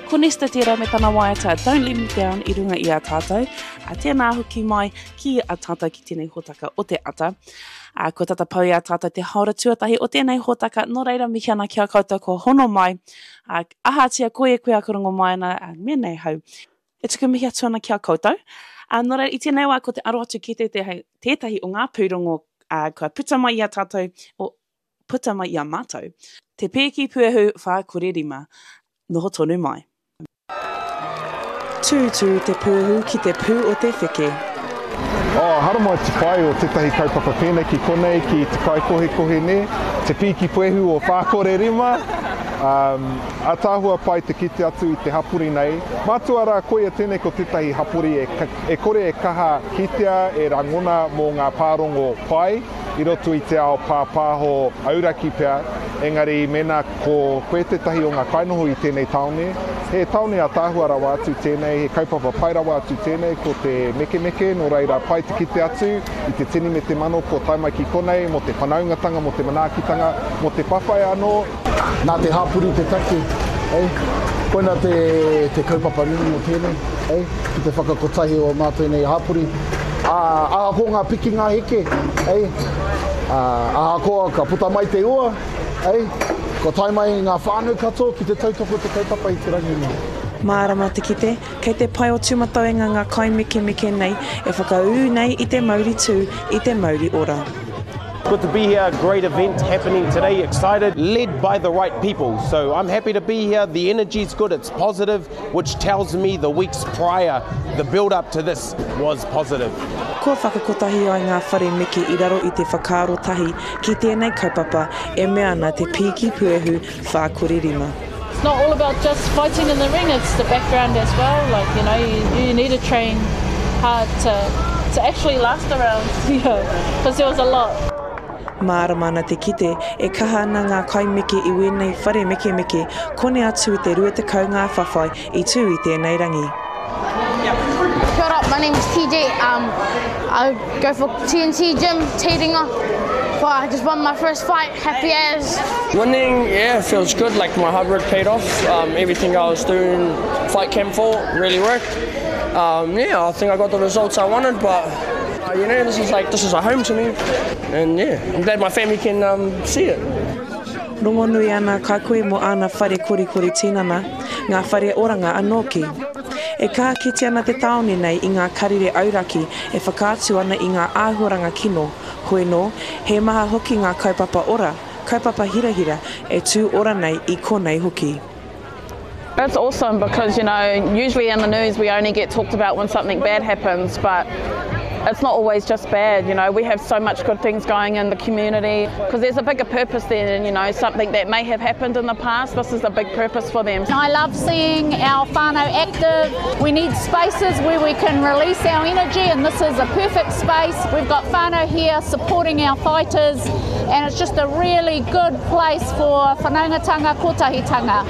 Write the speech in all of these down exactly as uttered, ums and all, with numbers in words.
Ko Nesta tērā me tana waiata Don't Let Me Down i runga i a tātou. A tēnā hoki mai ki a tātou ki tēnei hōtaka o te ata. A, kua tata pau i a tātou te haora tuatahi o tēnei hōtaka, nō reira mihi ana ki a koutou kua hono mai. A, ahatia koe e koe aku rongo mai ana, a, me nei hau. E tuku mihi atu ana ki a koutou. A, nō reira, i tēnei wā ko te aro atu ki tētahi, tētahi o ngā pūrongo a, kua puta mai i a tātou, o, puta mai i a mātou. Te Pēki Puehu whā kore rima. Noho tonu mai. Tūtū te puehu ki te pū o te wheke. Oh, haramai te pai o tētahi kaupapa pēnei ki konei, ki te kaikohekohe nē, te pīki puehu o whā kore rima. Um, ataahua pai te kite atu i te hapori nei. Mātua rā, koia tēnei ko tētahi hapori e, e kore e kaha kitea, e rangona mō ngā pārongo pai i roto i te ao pāpāho auraki pea, engari mēnā ko koe tētahi o ngā kainoho i tēnei tāone, he tāone ataahua rawa atu tēnei, he kaupapa pai rawa atu tēnei, ko te mekemeke, nō reira pai te kite atu i te tini me te mano kua tae mai ki konei mō te whanaungatanga, mō te manaakitanga, mō te whawhai anō. Nā te hapori te take, eh? Koina te, te kaupapa nui o tēnei, eh? Ki te whakakotahi o mātou nei hapori. Ā, ahakoa ngā piki ngā heke, eh? Ā, ahakoa ka puta mai te ua, eh? Kua tae mai ngā whānau katoa ki te tautoko te kaupapa i te rangi nei. Mārama te kite, kei te pae o Tūmatauenga ngā kaimekemeke nei e whakaū nei i te mauri tū, i te mauri ora. Good to be here, great event happening today, excited, led by the right people. So I'm happy to be here, the energy's good, it's positive, which tells me the weeks prior, the build up to this was positive. Kua whakakotahi ai ngā whare meke i raro i te whakaaro tahi ki tēnei kaupapa e mea ana te pīki puehu whā kore rima. It's not all about just fighting in the ring, it's the background as well. Like, you know, you, you need to train hard to, to actually last the rounds, you know, because there was a lot. Mārama ana te kite e kaha ana ngā kaimeke i wēnei whare mekemeke kone atu i te rua tekau ngā whawhai i tū i tēnei rangi. Kia ora, my name is T J. Um, I go for T N T Gym, Te Ringa. Well, I just won my first fight, happy as. Winning, yeah, feels good, like my hard work paid off. Um, everything I was doing fight camp for really worked. Um, yeah, I think I got the results I wanted, but uh, you know, this is like, this is a home to me. And yeah, I'm glad my family can, um, see it. Rongonui ana ka koe mō āna whare korikori tinana, ngā whare oranga anō ki. E kaha kite ana te tāone nei i ngā karere auraki e whakaatu ana i ngā āhuaranga kino, hoi nō, he maha hoki ngā kaupapa ora, kaupapa hirahira e tū ora nei i konei hoki. It's awesome because, you know, usually in the news we only get talked about when something bad happens, but it's not always just bad, you know, we have so much good things going in the community 'cause there's a bigger purpose there than, you know, something that may have happened in the past. This is a big purpose for them. I love seeing our whānau active. We need spaces where we can release our energy, and this is a perfect space. We've got whānau here supporting our fighters, and it's just a really good place for whanaungatanga, kotahitanga.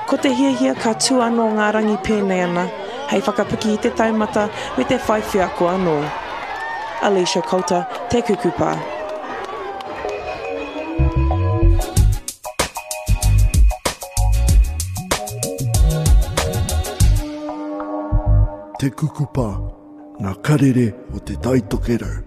Ko te hiahia ka tū anō ngā rangi pēnei ana, hei whakapiki i te taumata me te whai wheako anō. Alicia Coulter, Te Kukupa. Te Kukupa, ngā karere o te Tai Tokerau.